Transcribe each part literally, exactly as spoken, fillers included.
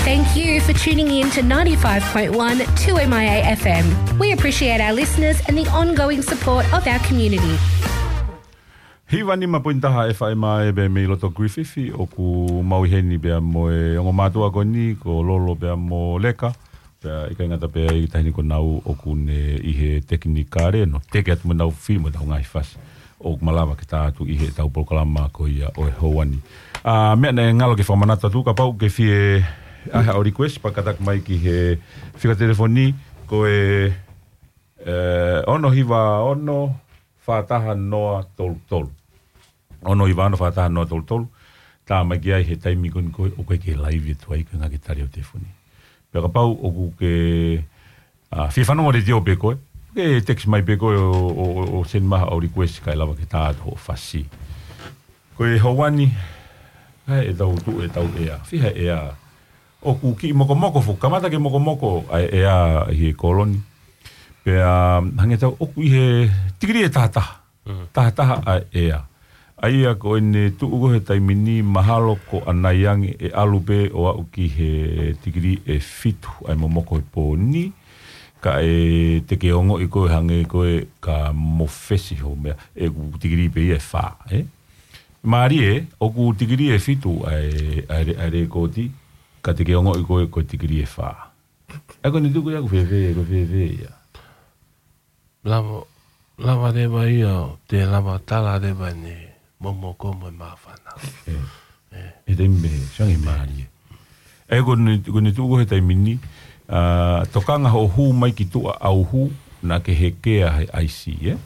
Thank you for tuning in to ninety-five point one two M I A F M. We appreciate our listeners and the ongoing support of our community. Hiva nima poini taha F M, pea mei loto Griffith, ʻoku mau ʻi heni pea mo e ongo mātuʻa ko eni, ko Lolo pea mo Leka, pea ʻikai ngata pē ai, taʻahine ko Nau ʻoku ne ʻi he tekinikale, ʻo teke atu mo ʻenau fili mo ʻenau ngaahi fasi ʻoku malava ke tā atu ʻi heʻetau polokalama ko ia ʻo e houa ni. ʻA, meʻa naʻe ngalo ke fakamanatu atu, kapau ʻoku ke fie ʻai haʻo request, pea kātaki mai ki he fika telefoni, ko e, ē, ono hiva ono, fā taha noa tolu tolu. Ono hiva ono, fā taha noa tolu tolu. Tā mai ki ai he taimi ko eni ko ē ʻoku ʻikai ke live atu ai, ko e ʻuhinga ke tali hoʻo telefoni. Pea kapau ʻoku ke, ʻa, fie fanongo letiō pē koe, ke text mai pē koe ʻo, ʻo, ʻo, ʻo send mai haʻo request kae lava ke tā atu hoʻo fasi. Ko e houa ni, ʻa ē ʻetau tuʻu ʻetau ʻea. Fiha ʻea ʻoku kiʻi mokomoko foki, kamata ke mokomoko ʻa e ʻea ʻi he kolo ni. Pea hangē ʻoku tau ʻi he tikilī ʻe taha taha. Mm. Taha taha ʻa e ʻea. ʻA ia ko ʻene tuʻu ko ē he taimi ni mahalo ko ʻanai ange ʻe ʻalu pē ʻo aʻu ki he tikilī ʻe fitu ʻa e momoko he pō ni. Kae te ke ongoʻi ko ē hangē ko ē ka mofesi hoʻo meʻa, ʻoku tikilī pē ia ʻe fā, ē? Mālie, ʻoku tikilī ʻe fitu ʻa e, ʻa e, ʻa e lēkooti, ka te ke ongoʻi ko ē ko e tikilī ʻe fā. ʻA ia ko ʻene tuʻu ko ia ʻoku fēfē, ʻoku fēfē ia. Lava, lava leva ia, te lava tala leva ʻene momoko mo e māfana. ʻE. ʻE. ʻE te me, sangi mālie. ʻA ia ko ʻene, ko ʻene tuʻu ko ē he taimi ni, ʻa, tokanga hoʻo hū mai ki tuʻa ʻauhu, naʻa ke hekea he ʻaisi, ē?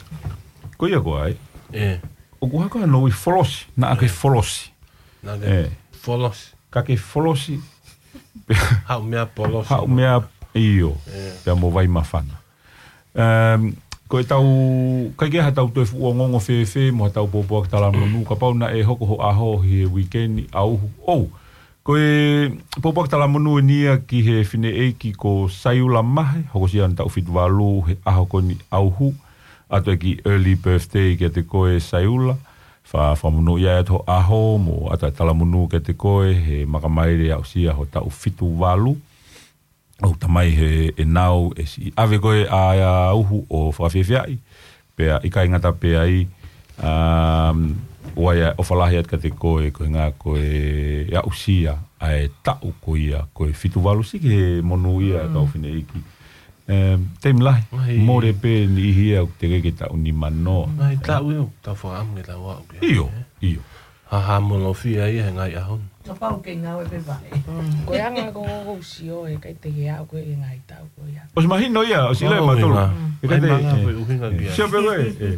Ko ia ko ē. ʻE. ʻOku hoko ʻa e nounou folosi, naʻa ke folosi. Naʻa ke folosi. Ka ke folosi. Haʻu meʻa polosi. Haʻu meʻa ʻio. ʻE. Pea mo vai māfana. Em, ko ʻetau, ʻikai ke ʻi ai haʻatau toe fuʻu ongoongo fēfē mo haʻatau pōpoaki talamonū, kapau naʻe hoko hoʻo ʻaho he uike ni ʻauhu. ʻOu, ko e pōpoaki talamonū eni ia ki he fineʻeiki ko Saiula Mahe, hokosia ʻene taʻu fitu valu he ʻaho ko eni ʻauhu, ʻoatu e kiʻi early birthday kiate koe Saiula, fa-, fakamonūʻia atu hoʻo ʻaho mo ʻoatu e talamonū kiate koe he makamaile aʻusia ho taʻu fitu valu. ʻOku talamai he ʻenau ʻe siʻi ʻave ko ē ʻa e ʻauhu ʻo fakafiefiaʻi, pea ʻikai ngata pē ai, um, ʻoku ʻi ai e ʻofa lahi atu kiate koe, ko e ʻuhinga ko e aʻusia ʻa e taʻu ko ia, ko e fitu valu siʻi ke monūʻia e kau fineʻeiki. Um, taimi lahi, mole pē niʻihi ia ʻoku teʻeki ke taʻu nima noa. Ngaahi taʻu ia ʻoku tau fakaʻamu ke tau aʻu ki ai, ʻio, ē? ʻIo. Haʻamolofia ia he ngaahi ʻaho ni. Kapau ke ngāue pē vaʻe. Mm, ko e anga ko ʻoku ou sio he ʻikai te ke aʻu ko ē ki he ngaahi taʻu ko ia. ʻOsi mahino ia, ʻosi lea mātolu. ʻIkai te, ʻai manga ē, ko e ʻuhinga ē, kia. Sio pē koe, ē.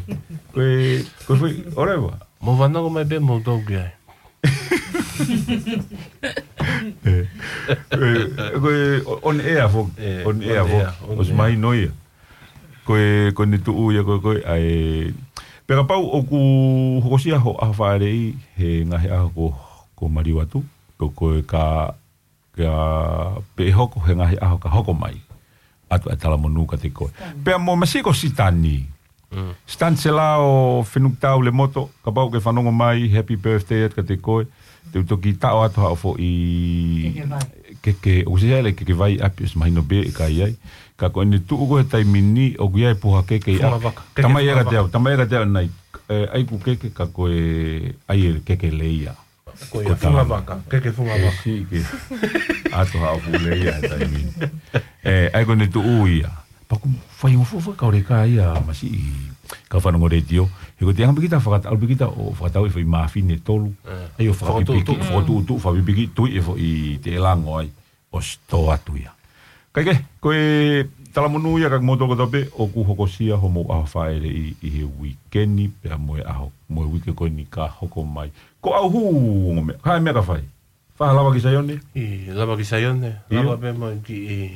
Ko e, ko e foʻi, ʻoleva. Mou fanongo mai pē moutolu ki ai. Ē. Ē, ko e, ʻo, on air foki. Ē, on air foki. On air, on air. ʻOsi mahino ia. Ko e, ko ʻene tuʻu ia ko ē, ko e, ʻa e, pea kapau ʻoku hokosia hoʻo ʻaho fāʻeleʻi he ngaahi ʻaho ko, ko maliu atu, ko, ko e ka, ka pē hoko he ngaahi ʻaho ka hoko mai, ʻoatu e talamonū kiate koe. Pea mo masiʻi ko Sitani. Mm. Sitani Selao Fenukitau Lemoto, kapau ʻoku ke fanongo mai, happy birthday atu kiate koe. Te u toki taʻo atu haʻo foʻi keke vai. Keke, ʻoku ʻikai ke ʻi ai e keke vai ʻapi, ʻosi mahino pē ʻe ʻikai ai. Ka ko ʻene tuʻu ko ē he taimi ni, ʻoku ʻi ai e puha keke ia. Funga vaka. Keke funga vaka. Talamai ʻe ia kiate au, talamai ʻe ia kiate au ʻanai, ē, ʻai ʻeku keke ka ko e ʻai e keke lea ia. Ko ia, ko e funga vaka, keke funga vaka. Siʻi ke ʻoatu haʻo fuʻu lea ia he taimi ni. Ē, ʻa ia ko ʻene tuʻu ia. Pea ʻoku faingofua fakaʻosi ka ia masiʻi kau fanongo letiō. He ko e te anga pē kita fakata-, ʻalu pē kita ʻo fakatau e foʻi māfine ʻe tolu. Ē. ʻAi ʻo fakapipiki, fakatuʻutuʻu. Fakatuʻutuʻu, fakapipiki, tui e foʻi teʻelango ai. ʻOsi tō atu ia. Kae kehe, ko e talamonū ia kiate kimoutolu kotoa pē, ʻoku hokosia homou ʻaho fāʻeleʻi ʻi he uike ni, pea mo e ʻaho, mo e uike ko eni ka hoko mai. Ko ʻauhu, ongo meʻa, ka e meʻa ka fai. Fai ha lava ki Saione? ʻI, lava ki Saione, ʻio. Lava pē mo e kiʻi,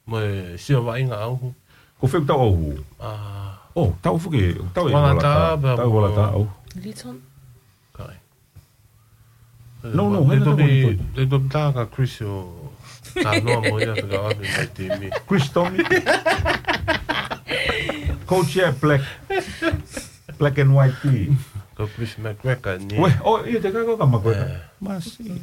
mo e sio vaʻinga ʻauhu. Ko fē ʻoku tau ʻauhu? ʻA. ʻO, tau fuke, tau e Walata, Walata, pea tau mo Walata ʻauhu. Liton? Kai. No, no, te hanga toki, tau mo te toki tā ka Chris ʻo talanoa mo ia fekauʻaki mo e timi. Chris Tommy. Coach ia Black. Black and white tee. Ko Chris McGregor ni. Uē, ʻo, ʻio, te ka ko ka McGregor. Ē. Masiʻi.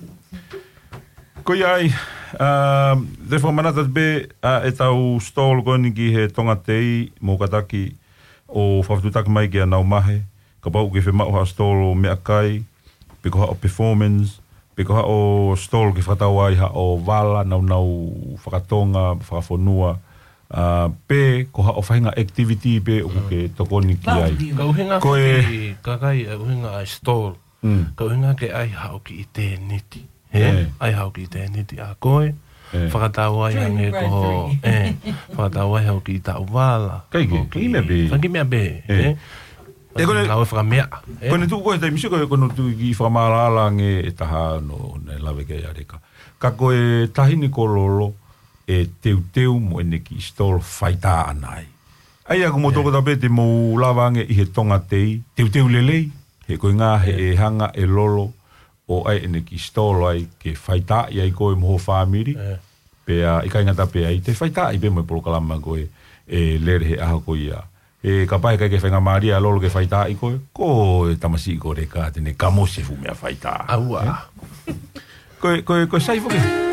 Ko ia ai, Te fakamanatu atu pē ʻa ʻetau stall ko eni ki he Tonga Tei, mou kātaki ʻo fakafetuʻutaki mai kia Naumahe, kapau ʻoku ke fiemaʻu ha stall meʻakai, pe ko haʻo performance, pe ko haʻo stall ke fakatau ai haʻo vala, naunau fakatonga, fakafonua, ʻa, pe ko haʻo faʻahinga activity pē ʻoku ke tokoni ki ai. Ka ʻuhinga Ko e ki kakai, ʻa ʻuhinga ʻa e stall. Ka ʻuhinga ke ʻai haʻo kiʻi tēniti. He, ʻai haʻo kiʻi tēniti ʻa koe. Fakatau ai hangē ko, ʻe, fakatau ai haʻo kiʻi taʻu vala. Kai ke, kiʻi meʻa pē. Kiʻi meʻa pē, ʻe. ʻE, ko e ngāue fakameʻa, ʻe. Ko e tuʻu ko e taimi sio ko e, ko e tuʻu ki fakamaʻalaʻala ange ʻe taha no, ne lave ke ai ʻa Leka. Ka ko e taʻahine ko Lolo, ʻe teuteu mo ʻene kiʻi stall faitā ʻana ai. ʻAi ʻaku mo toko tape te mou lava ange ʻi he Tonga Tei, teuteu lelei, he ko e ngā he ʻe hanga ʻe Lolo, ʻo ʻai ʻene kiʻi stall ai, ke faitaaʻi ai koe mo ho fāmili, pea ʻikai ngata pē ai, te faitaaʻi pē mo e polokalama ko e, ʻe lele he ʻaho ko ia. ʻE kapau ʻe ʻikai ke faingamālie ʻa Lolo ke faitaaʻi koe, ko e tamasiʻi ko Leka, te ne kamosi e fuʻu meʻa faitā. ʻAua. Ko e, ko e, ko e sai foki.